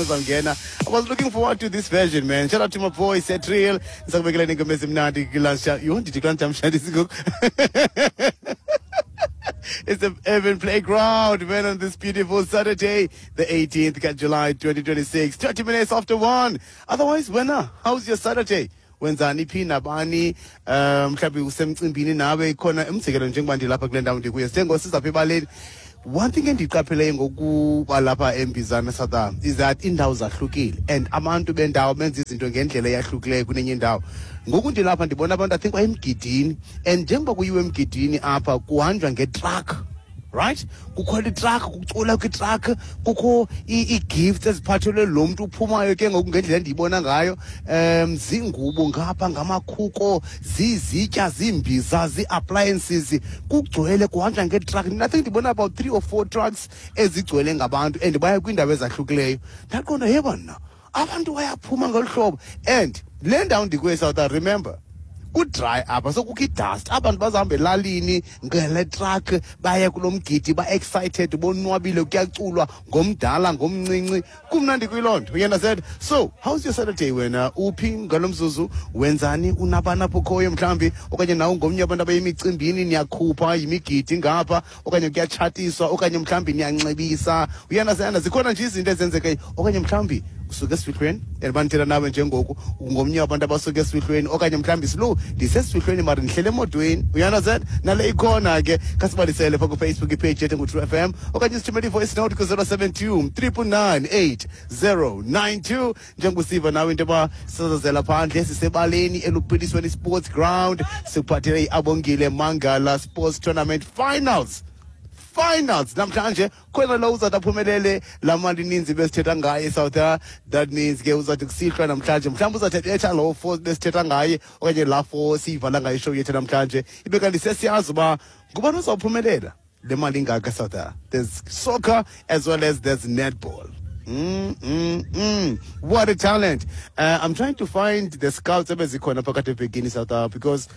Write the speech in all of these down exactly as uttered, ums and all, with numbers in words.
Uzangena. I was looking forward to this version, man. Shout out to my boy Setriel. Ngisakubekela ingoma ezimnandi kulancha. You want to kulancha mshandi ngoku? It's the Urban Playground, man, on this beautiful Saturday, the eighteenth of July, twenty twenty-six, thirty minutes after one. Otherwise, wena, how's your Saturday? Wenzani phi nabani? um mhlawumbe usemcimbini nawe khona, umzekelo njengoba ndilapha kule ndawo ndikuyo, sengosizapha ebaleni. One thing endiqapheleyo ngokuba lapha eMbizana, South, is that iindawo zahlukile and abantu bendawo benza izinto ngendlela eyahlukileyo kunenye indawo. Ngoku ndilapha ndibona abantu, I think bayemgidini, and njengoba kuyiwe emgidini apha kuhanjwa ngetruck, right? Kukho itruck, kucula kwitruck, kukho ii-gifts eziphathelwe lo mntu uphumayo. Ke ngoku ngendlela endiyibona ngayo, um zingubo ngapha, ngamakhuko, zizitya, ziimbiza, zii-appliances, kugcwele, kuhanjwa ngetruck. I think ndibona about three or four trucks ezigcwele ngabantu and baya kwiindawo ezahlukileyo. Ndaqonda, ye bana, abantu bayaphuma ngolu hlobo. And le ndawo ndikuyo, South, remember, kudry apha, so kukho idust. Abantu bazahamba elalini ngele truck baye kulo mgidi, ba-excited, bonwabile, kuyaculwa ngomdala ngomncinci, kumnandi kuyiloo nto, you understand? So how's your Saturday wena? Uphi ngalo mzuzu? Wenzani? Unabani apho ukhoyo mhlawumbi, okanye nawe ngomnye abantu abayemicimbini, niyakhupha yimigidi ngapha, okanye kuyatshatiswa, okanye mhlawumbi niyanxibisa, you understand? Zikhona nje izinto ezenzekayo, okanye mhlawumbi usuke esifihlweni and bandithetha nawe njengoku ngomnye wabantu abasuke esifihlweni, okanye mhlawumbi silo ndisesifihlweni mara ndihlele emotweni, you understand? Nale ikhona ke, khasibalisele pha kuFacebook ipage yethu ngu-True F M, okanye sithumele i-voice note ku-zero seven two triple nine eight zero nine two. Njengokusiva nawe into yoba sisazazela phandle, sisebaleni eLuphilisweni Sports Ground, sikuphathele i-Abongile Mangala Sports Tournament Finals. Finals namhlanje, khona lo uzawuthi aphumelele laa mali ininzi besithetha ngaye, South. That means ke uzawuthi kusihlwa namhlanje mhlawumbi uzawuthi etha loo four besithetha ngaye, okanye laa four siyivala ngayo ishow yethu namhlanje, ibe kanti sesiyazi uba ngubani uzawuphumelela le mali ingaka. South, there's soccer as well as there's netball. Mm, mm, mm. What a talent. Uh, I'm trying to find the scouts ebezikhona phakathi evekini, South Africa, because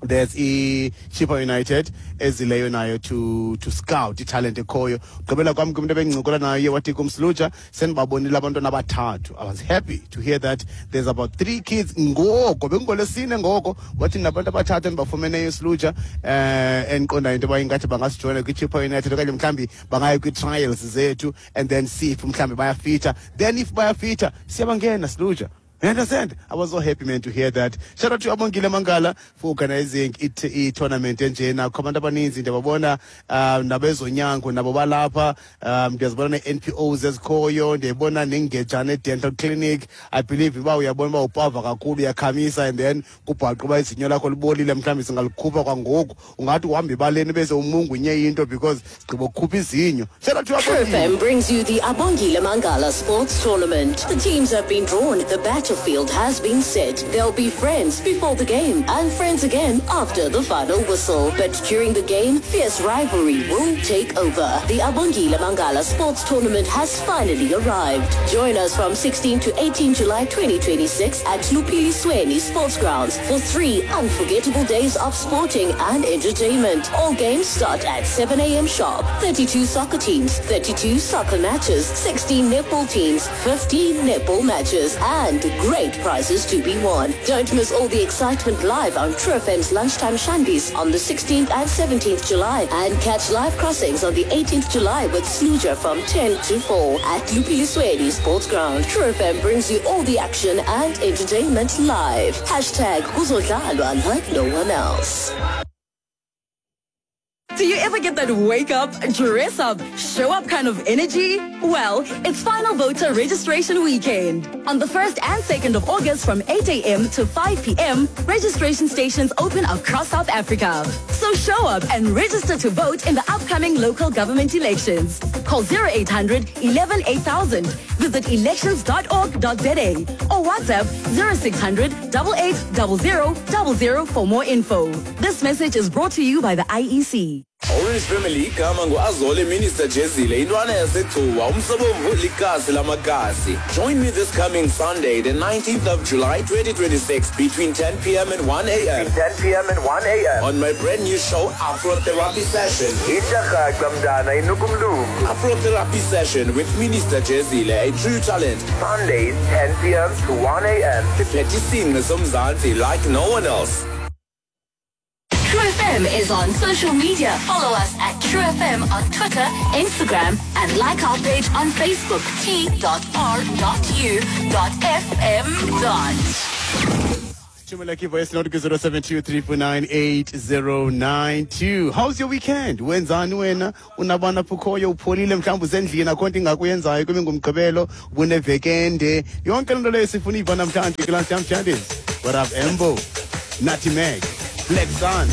there's i-Chippa United ezileyo nayo to to scout italent ekhoyo. Gqibela kwam kumntu ebengincokola naye wathi kumsluja sendibabonile abantwana abathathu. I was happy to hear that there's about three kids ngoko bekungolwesine, ngoko wathi nabantu abathathu endibafumeneyo isluja eh endiqondayo into yoba ingathi bangasijoyina kwi-Chippa United, okanye mhlawumbi bangaya kwii-trials zethu and then see if mhlawumbi bayafitha. Then if bayafitha, siyabangena siluja. You understand? I was so happy, man, to hear that. Shout out to Abongile Mangala for organizing it i-tournament enjena. Kukho abantu abaninzi ndiyababona, um nabezonyango nabo balapha, um ndiyazibona nee-N P Os ezikhoyo, ndiyayibona neNgejane Dental Clinic. I believe uba uyabona uba upava kakhulu, uyakhamisa, and then kubhaqe uba izinyo lakho libolile, mhlawumbi singalikhupha kwangoku. Ungathi uhamba ebaleni bese umungunye into because sigqiba ukukhupha izinyo. Shout out to True Abongile. F M brings you the Abongile Mangala Sports Tournament. The teams have been drawn. The battlefield has been set. They'll be friends before the game and friends again after the final whistle. But during the game, fierce rivalry will take over. The Abongile Mangala Sports Tournament has finally arrived. Join us from sixteen to eighteen July twenty twenty-six at Luphilisweni Sports Grounds for three unforgettable days of sporting and entertainment. All games start at seven a m sharp. thirty-two soccer teams, thirty-two soccer matches, sixteen netball teams, fifteen netball matches, and great prizes to be won. Don't miss all the excitement live on True F M's Lunchtime Shandies on the sixteenth and seventeenth July and catch live crossings on the eighteenth July with Sluja from ten to four at Luphilisweni Sports Ground. True F M brings you all the action and entertainment live. Hashtag Kuzodlalwa like no one else. Do you ever get that wake up, dress up, show up kind of energy? Well, it's final voter registration weekend. On the first and second of August from eight a m to five p m, registration stations open across South Africa. So show up and register to vote in the upcoming local government elections. Call zero eight hundred eleven eight thousand, visit elections dot org dot za or WhatsApp zero six hundred eight eight zero zero zero zero for more info. This message is brought to you by the I E C. Orange Family igama nguAzole Minister Jezile intwana yaseGcuwa umsobomvu likasi lamakasi. Join me this coming Sunday, the nineteenth of July twenty twenty-six, between ten p m and one a m ten p m and one a m on my brand new show, Afrotherapy Session. Itshakaca mntana inuka umlungu. Afrotherapy Session with Minister Jezile, a true talent. Sundays, ten p m to one a m Siphethe isingqi somzantsi like no one else. True F M is on social media. Follow us at True F M on Twitter, Instagram, and like our page on Facebook, T dot R dot U dot F M. Thumela voice note ku zero seven two three four nine eight zero nine two. How's your weekend? Wenzani wena? Unabana pukhoyo, upholile, mhlawumbe usendlini, akho nto ingakuyenzayo kube ngumgqibelo, ubunevekende. Yonke lento leyo sifuna iva namhlanje kulaa namhlanje. What up, Embo? Natty Meg, Black Sun.